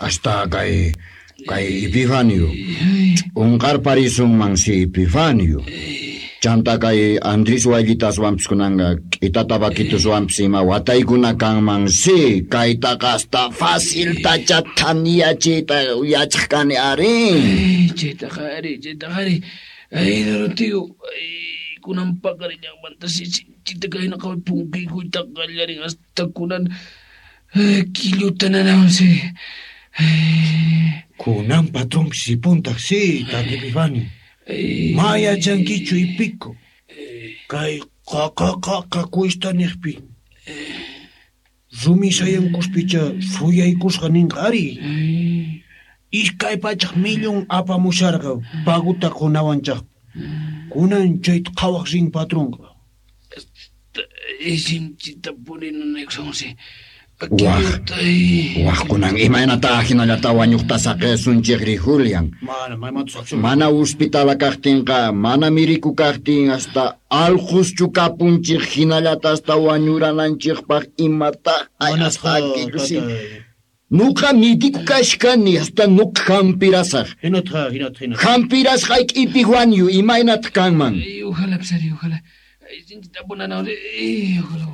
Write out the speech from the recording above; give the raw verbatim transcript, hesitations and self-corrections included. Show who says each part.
Speaker 1: Hasta kay kay Epifanio. Unqarparisunman si Epifanio. Chanta kay Andrés Wayllitaswanpis kunanqa k'ita tabaquituswanpis ima wataykuna kanman si kaytaqa hasta faciltacha thaniyachiyta yachaq kani ari.
Speaker 2: Chaytaqa ari, chaytaqa ari. Ay, Doroteo, ay, kunan paqarillanmanta si sinchita kayna qaway punkikuyta qallarin hasta kunan killuta nanawan si.
Speaker 3: Kunan patronpis ripuntaq si, tata Epifanio. Ma yachankichu ipico. Kay qaqa qaqa cuesta niqpi. Rumi sayankuspicha suyaykusqa ninqa ari. Iskay pachak millón apamusharqa paguta qunawanchaq. Kunan chayta qhawaq rin patronqa.
Speaker 2: Sinchita purinanaykusan si.
Speaker 1: Waq, waq kunan imaynata hinallata wañuqta saqesunchikri Julian.
Speaker 3: Mana, maymanta
Speaker 1: Mana hospitala kaqtinqa, mana miriku kaqtin hasta allquschu kapunchik hinallata hasta wañurananchikpaq imata
Speaker 3: Manasqa,
Speaker 1: Nuqa midiku kashkani hasta nuqa hampirasaq.
Speaker 3: Hinatqa, hinatqa, hinatqa.
Speaker 1: Hampirasqayki Epifanio imaynataq kanman.
Speaker 2: Ay, ojalá, psari, ojalá. Ay, sinchita punanawan, ay, ojalá.